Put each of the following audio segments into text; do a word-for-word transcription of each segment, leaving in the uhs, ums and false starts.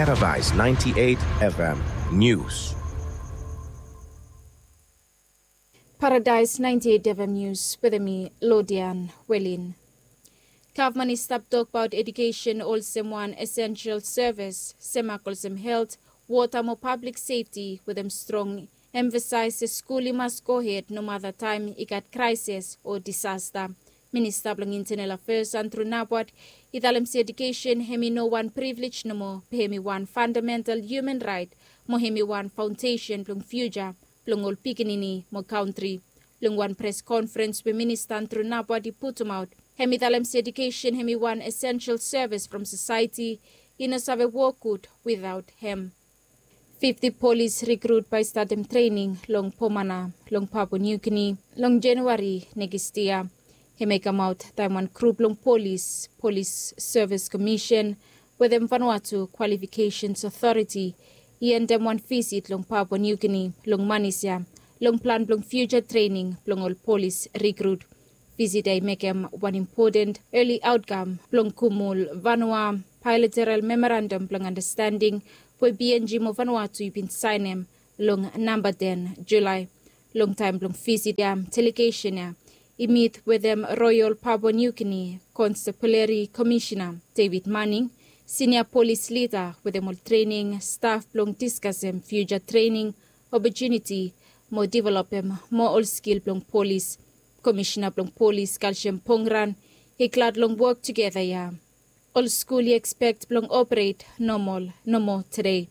Paradise ninety-eight F M News. Paradise ninety-eight F M News wetem mi, Lodian Welin. Gavman i stap tokbaot edukesen olsem wan esensel sevis, semak olsem helt, wota mo pablik sefti, wetem strong emfasaes se skul i mas gohed nomata taem i gat kraeses o disasta. Minista blong Intenel Afeas Andrew Nabwat i talem se edukesen hemi no wan privilej nomo, be hemi wan fandamental hiuman raet mo hemi wan faondesen blong fiuja blong ol pikinini mo kantri. Long wan pres konferens we Minista Andrew Nabwat i putumaot, hemi talem se edukesen hemi wan esensel sevis from sosaeti, i no save wok gud witaot hem. Fifti polis rikrut bae i statem trening long Pomana long Papua New Guinea long Januari nekis yia. Hemia i kamaot taem wan grup blong polis, Polis Sevis Komisen, wetem Vanuatu Kwalifikesens Otoriti i endem wan visit long Papua New Guinea long manis ya, long plan blong fiuja trening blong ol polis rikrut. Visit ya i mekem wan impoten eli aotkam blong Kumul Vanua Baelateral Memorandam blong Andastending we P N G mo Vanuatu i bin saenem long namba ten Julae. Long taem blong visit ya, delegesen ya i mit wetem Royal Papua New Guinea Constabulary Commissioner David Manning, sinia polis lida, wetem ol trening staf blong diskasem fiuja trening opotuniti mo developem moa ol skil blong polis. Komisena blong polis kalsiam Pongran i glad long wok tugeta ya. Ol skul i ekspek blong operet nomol nomo tede.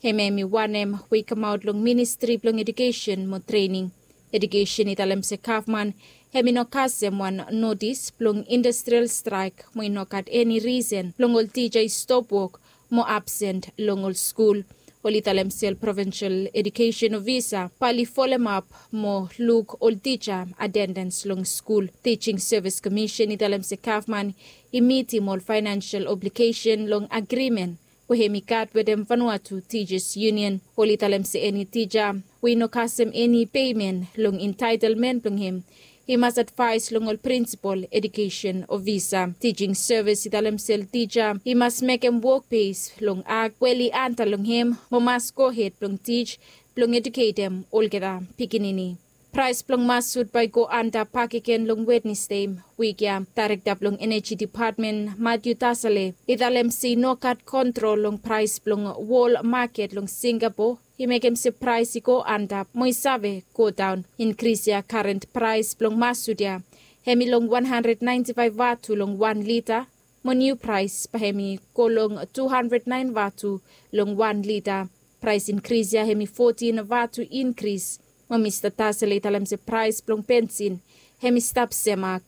Hemia hemi wanem we i kamaot long Ministri blong Edukesen mo Trening. Edukesen i talem se gavman hemi no kasem wan notis blong industrial straek mo i no gat eni risen blong ol tija i stop wok mo absen long ol skul. Oli talem se ol provinsel edukesen ofisa bae oli folemap mo luk ol tija atendens long skul. Tijing Sevis Komisen i talem se gavman i mitim ol faenensel obligesen long agrimen we hemi gat wetem Vanuatu Tijas Yunion. Oli talem se eni tija we i no kasem eni pemen long entaetelmen blong hem i mas advaes long ol prinsipol edukesen ofisa. Tijing Sevis i talem se ol tija i mas mekem wok bes long ak we oli anta long hem mo mas gohed blong tij blong eduketem olgeta pikinini. Praes blong masut bae i go anda bakegen long Wednesde wik ya. Daerekta blong Eneji Depatmen Matthew Tasale i talem se i no gat kontrol long praes blong wol maket long Singapo i mekem se praes i go anda mo i save godaon. Inkris ya, karen praes blong masut ya hemi long wan handred naenti faef vatu long wan lita, mo niu praes bae hemi go long tu handred naen vatu long wan lita. Praes inkris ya hemi fotin vatu inkris. Mo Mista Tasale i talem se praes blong bensin hemi stap semak.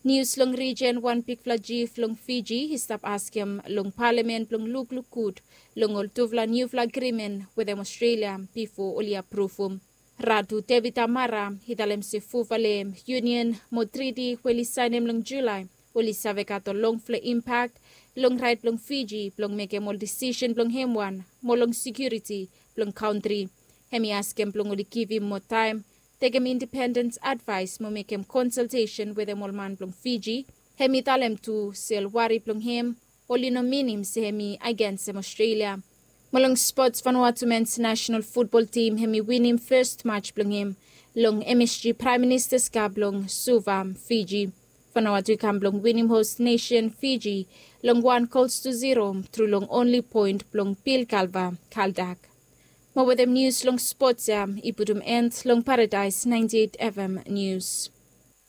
Nius long rijen, wan bigfala jif long Fiji i stap askem long palamen blong lukluk gud long ol tufala niufala agrimen wetem Ostrelia bifo oli apruvum. Ratu Tevita Mara i talem se fufale yunion mo triti we oli saenem long Julae oli save gat ol longfala impak long raet blong Fiji blong mekem ol disisen blong hem wan mo long sekiuriti blong kantri. Hemi askem blong oli givim moa taem, tekem independens advaes mo mekem konsaltesen wetem ol man blong Fiji. Hemi talem tu se ol wari blong hem oli no minim se hemi agensem Ostrelia. Mo long spots, Vanuatu mens nasenal futbol tim hemi winim fes maj blong hem long M S G Praem Ministas Kap long Suva, Fiji. Vanuatu i kam blong winim hos nesen Fiji long wan gols tu ziro tru long onli poen blong Bill Galva Kaldak. Mo wetem nius long spots ya i putum en long Paradaes naenti eit F M Nius.